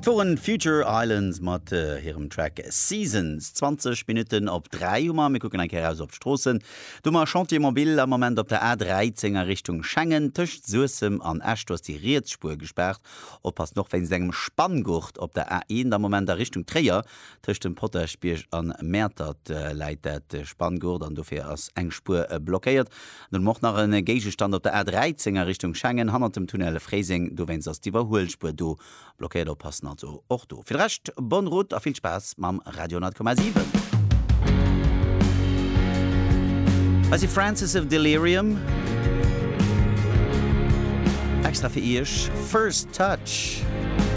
Et woren Future Islands mat hirem Track Seasons. 20 Minutten op 3 hu mer. Mir kucken eng Kéier eraus op d'Stroossen. Do hu mer Chantier mobile am Moment op der A13 a Richtung Schengen tëscht Suessem an Esch. Do ass déi riets Spuer gespaart. Oppassen och wéinst engem Spanngurt op der A1 am Moment a Richtung Tréier. Tëscht dem Potaschbierg an Mäertert läit dat Spanngurt an dofir ass eng Spuer blockéiert. An dann hu mer och nach e Géigestand op der A13 a Richtung Schengen hannert dem Tunnel Fréiseng. Dowéinst ass d'Iwwerhuelspuer do Blockéiert oppassen also och do. Fir de Rescht bonne route a vill Spaass mam Radio 10,7. Hei si Francis of Delirium. Extra fir iech First Touch.